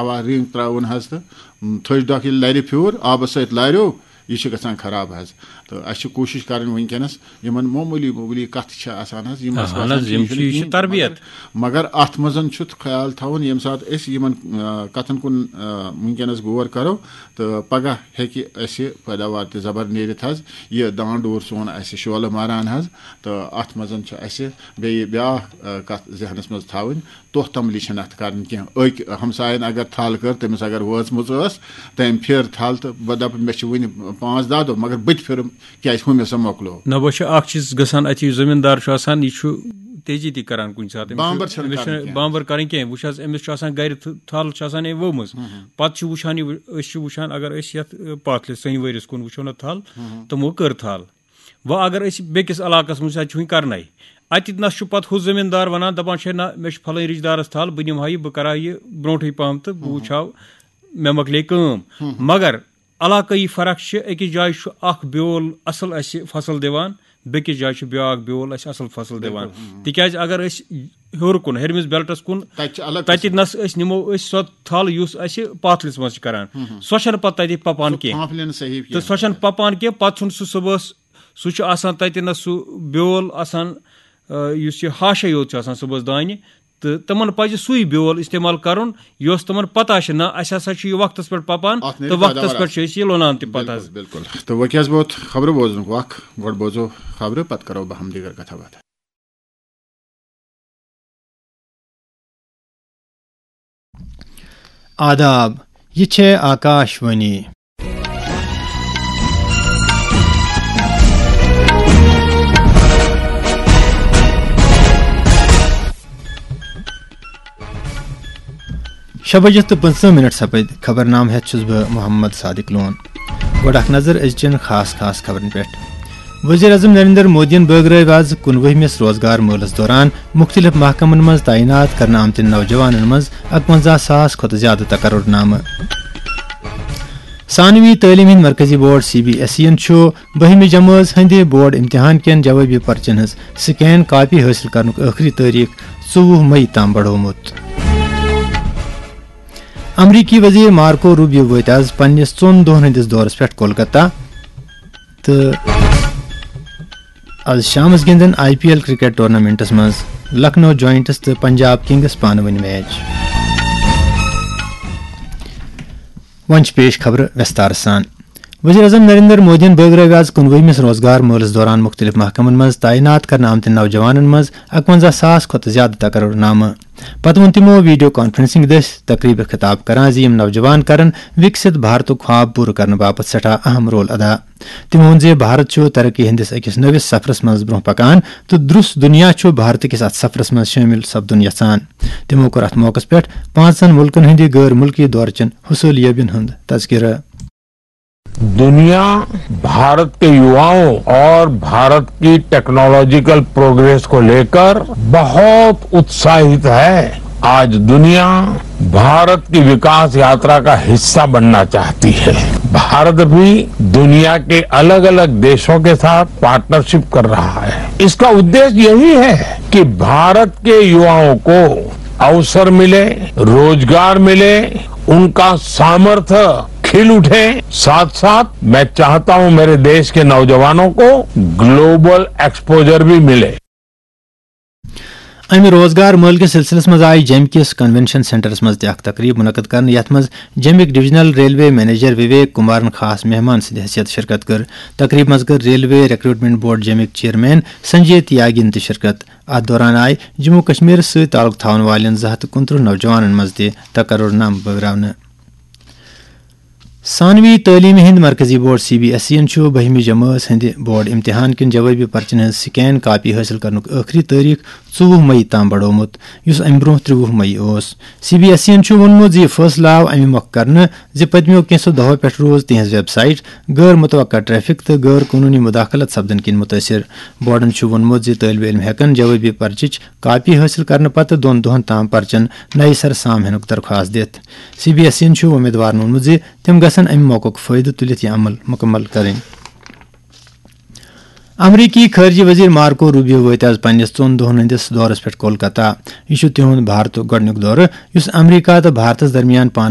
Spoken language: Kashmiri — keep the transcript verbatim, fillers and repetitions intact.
ہوا رینگ تراوُن حظ، تہٕ تھٔج ڈۄکھ ییٚلہِ لرِ پھیوٗر، آبس سۭتۍ لاریو، یہِ چھِ گژھان خراب حظ۔ تہٕ اَسہِ چھِ کوٗشِش کرٕنۍ وٕنکیٚنس، یِمن معموٗلی معموٗلی کتھٕ چھِ آسان حظ، یِم اَسہِ اہن باسان حظ، چھِ، یِم یہِ چھِ، چھُنہٕ یہِ چھُ کِہیٖنۍ، تہٕ تربیت۔ مگر، مگر اتھ منٛز چھُ خیال تھاوُن، ییٚمہِ ساتہٕ أسۍ یِمن، آ، کتھن کُن، آ، وٕنکیٚنس غور کرو، تہٕ پگاہ ہیٚکہِ اَسہِ پیداوار تہِ زبر نیٖرِتھ حظ، یہِ دان ڈوٗر سون اَسہِ شولہٕ ماران حظ۔ تہٕ اتھ منٛز چھِ اَسہِ بیٚیہِ بیٛاکھ، آ، کتھ ذہنس منٛز تھاوٕنۍ، توٚہ تملی چھَنہٕ اَتھ کَرٕنۍ کینٛہہ۔ أکۍ ہمسایَن اگر تھل کٔر، تٔمِس اگر وٲژمٕژ ٲس، تٔمۍ پھِر تھل تہٕ بہٕ دَپہٕ، مےٚ چھِ وٕنہِ پانٛژھ دَہ دۄہ، مگر بہٕ تہِ پھِرُم، کیٛازِ ہُمِس سا مۄکلو۔ نہ، وۄنۍ چھُ اکھ چیٖز گژھان، اَتہِ یُس زٔمیٖندار چھُ آسان، یہِ چھُ تیزی تہِ کران کُنہِ ساتہٕ۔ أمِس چھُ، بامبر چھَنہٕ أمِس کَرٕنۍ چھُنہٕ کینٛہہ۔ بامبر کَرٕنۍ کینٛہہ۔ وٕچھ حظ، أمِس چھُ آسان گرِ تھ-، تھل چھِ آسان أمۍ ؤومٕژ۔ ہُم ہُم۔ پَتہٕ چھُ وٕچھان یہِ، أسۍ چھِ وٕچھان، اگر أسۍ یَتھ، اَ، پَتھ لِس سٲنۍ ؤرِیَس کُن وٕچھو نہ تھل، ہُم ہُم۔ تِمو کٔر تھل۔ وۄنۍ اگر أسۍ بیٚکِس علاقس منٛز، اَتہِ چھُ وٕنہِ کرنَے، اَتہِ نَس چھُ پَتہٕ ہُہ زٔمیٖندار وَنان، دَپان چھِ، "ہے نہ، مےٚ چھُ پھلٲنۍ رِشتہٕ دارَس تھل، بہٕ نِمہٕ ہا یہِ، بہٕ کَرٕ ہا یہِ برونٛٹھٕے پَہَم تہٕ بہٕ وٕچھٕ ہا، مےٚ مۄکلے کٲم۔" ہُم۔ مگر علاقٲیی فرق چھِ، أکِس جایہِ چھُ اَکھ بیول اَصٕل اَسہِ فصل دِوان، بیٚکِس جایہِ چھُ بیٛاکھ بیول اَسہِ اَصٕل فصل دِوان۔ بِلکُل، ہُم۔ تِکیٛازِ اگر أسۍ ہیوٚر کُن، ہیٚرمِس بیلٹَس کُن، تَتہِ چھِ الگ تَتہِ قٕسم۔ نَس أسۍ نِمو أسۍ سۄ تھل، یُس اَسہِ پَتھ لِس منٛز چھِ کَران، ہُم ہُم۔ سۄ چھَنہٕ پَتہٕ تَتہِ پَپان سۄ کینٛہہ۔ پھانٛپھ لینہٕ صحیح تہٕ کینٛہہ۔ سۄ چھَنہٕ پَپان کینٛہہ، پَتہٕ چھُنہٕ سُہ صُبحَس، سُہ چھُ آسان تَتہِ نَس سُہ بیول آسان، آ، یُس یہِ ہاشَے یوت چھُ آسان صُبحَس دانہِ، تہٕ تِمَن پَزِ سُے بیول استعمال کَرُن، یۄس تِمَن پَتہ چھِ، نہ، اَسہِ ہسا چھُ یہِ وقتَس پٮ۪ٹھ پَپان اَتھ نیرِ تہٕ وقتَس پیداوار پٮ۪ٹھ چھِ اَصٕل۔ أسۍ یہِ لونان تہِ پَتہٕ بِلکُل، حظ۔ بِلکُل۔ تہٕ وۄنۍ کیٛاہ حظ ووت خبرٕ بوزنُک وق، گۄڈٕ بوزو خبرٕ، پَتہٕ کَرو بہٕ ہم دیٖگر کَتھا باتھا۔ آداب، یہِ چھےٚ آکاش وانی۔ شےٚ بجہِ تہٕ پٕنٛژٕہ مِنٹ سپٕدۍ۔ خبرنامہٕ ہٮ۪تھ چھُس بہٕ محمد صادق لون۔ گۄڈٕ اکھ نظر أزچٮ۪ن خاص خاص خبرن پٮ۪ٹھ۔ وزیر اعظم نریندر مودیَن بٲگرٲوۍ آز کُنوُہمِس روزگار مٲلَس دوران مُختٔلِف محکمَن منٛز تعینات کرنہٕ آمتٮ۪ن نوجوانَن منٛز اَکوَنزاہ ساس کھۄتہٕ زِیٛادٕ تقرر نامہٕ۔ ثانوی تعلیٖم ہٕنٛدۍ مرکزی board C B S E یَن چھُ بٔہمہِ جمٲژ ہٕنٛدِ بورڈ امتحان کٮ۪ن جوابی پرچن ہٕنٛز سکین کاپی حٲصِل کرنُک ٲخری تٲریخ ژوٚوُہ مئی تام بڑومُت۔ امریکی وزیر مارکو روبیو وٲتۍ آز پننِس ژۄن دۄہن ہٕنٛدِس دورس پٮ۪ٹھ کولکتہ تہٕ آز شامس گِنٛدن I P L cricket tournaments منٛز لکھنؤ جوائنٹس تہٕ پنجاب کنگس پانہٕ ؤنۍ میچ۔ وۄنۍ چھِ پیش خبرٕ وٮ۪ستارٕ سان۔ وزیر اعظم نریندر مودیَن بٲگرٲوۍ آز کُنوُہمِس روزگار مٲلَس دوران مُختٔلِف محکمَن منٛز تعینات کرنہٕ آمتٮ۪ن نوجوانَن منٛز اَکوَنزاہ ساس کھۄتہٕ زِیٛادٕ تقرر نامہٕ۔ پتہٕ ووٚن تِمَو ویڈیو کانفرنسنگ دٔسۍ تقریبہِ خطاب کران زِ یِم نوجوان کرن وِکسِت بھارتُک خواب پوٗرٕ کرنہٕ باپتھ سٮ۪ٹھاہ اہم رول ادا۔ تٔمۍ ووٚن زِ بھارت چھُ ترقی ہٕنٛدِس أکِس نٔوِس سفرَس منٛز برٛونٛہہ پکان تہٕ درٛس دُنیا چھُ بھارت کِس اَتھ سفرَس منٛز شٲمِل سپدُن یژھان۔ تِمَو کوٚر اَتھ موقعَس پٮ۪ٹھ پانٛژن مُلکَن ہٕنٛدِ غٲر مُلکی دورٕچن حصوٗلیٲبیَن ہُنٛد تذکرٕ۔ दुनिया भारत के युवाओं और भारत की टेक्नोलॉजिकल प्रोग्रेस को लेकर बहुत उत्साहित है। आज दुनिया भारत की विकास यात्रा का हिस्सा बनना चाहती है। भारत भी दुनिया के अलग-अलग देशों के साथ पार्टनरशिप कर रहा है। इसका उद्देश्य यही है कि भारत के युवाओं को अवसर मिले, रोजगार मिले, उनका सामर्थ्य खिल उठे। साथ-साथ मैं चाहता हूं मेरे देश के नौजवानों को ग्लोबल एक्सपोजर भी मिले। امہِ روزگار مٲلہٕ کِس سلسلس منٛز آیہِ جیٚمہِ کِس کنونشن سینٹرس منٛز تہِ اکھ تقریب منعقد کرنہٕ، یتھ منٛز جیٚمِکۍ ڈویژنل ریلوے منیجر وویک کمارن خاص مہمان سٕنٛدِ حیثیت شرکت کٔر۔ تقریب منٛز کٔر ریلوے ریکروٹمنٹ بورڈ جیٚمِکۍ چیئرمین سنجے تیاگین تہِ شرکت۔ اتھ دوران آیہِ جموں کشمیرس سۭتۍ تعلق تھاون والٮ۪ن زٕ ہتھ تہٕ کُنترٕہ نوجوانن منٛز تہِ تقرر نامہٕ بٲگراونہٕ۔ ثانوی تعلیمہِ ہٕنٛدۍ مرکزی board C B S E یَن چھُ بٔہمہِ جمٲژ ہٕنٛدِ بورڈ امتحان کٮ۪ن جوابی پرچن ہٕنٛز سکین کاپی حٲصِل کرنُک ٲخری تٲریخ ژوٚوُہ مئی تام بڑومُت، یُس امہِ برونٛہہ ترٛوٚوُہ مئی اوس۔ سی بی ایس ای یَن چھُ ووٚنمُت زِ یہِ فٲصلہٕ آو امہِ مۄکھٕ کرنہٕ زِ پٔتمیو کینٛژھو دۄہو پٮ۪ٹھ روٗز تِہنٛز ویب سائٹ غٲر متوقع ٹریفک تہٕ غٲر قونوٗنی مداخلت سپدن کِنۍ مُتٲثِر۔ بورڈَن چھُ ووٚنمُت زِ طٲلبہِ علم ہٮ۪کَن جوٲبی پرچٕچ کاپی حٲصِل کرنہٕ پتہٕ دۄن دۄہَن تام پرچن نَیہِ سرٕ سام ہینُک درخواست دِتھ۔ سی بی ایس ای یَن چھُ وۄمیدوارَن ووٚنمُت زِ تِم گژھَن اَمہِ موقعُک فٲیدٕ تُلِتھ یہِ عمل مُکمل کرٕنۍ۔ امریکی خارجہ وزیر مارکو روبیو وٲتۍ آز پننِس ژۄن دۄہَن ہٕنٛدِس دورَس پٮ۪ٹھ کولکتہ۔ یہِ چھُ تِہُنٛد بھارتُک گۄڈٕنیُک دورٕ، یُس امریکہ تہٕ بھارتَس درمیان پانہٕ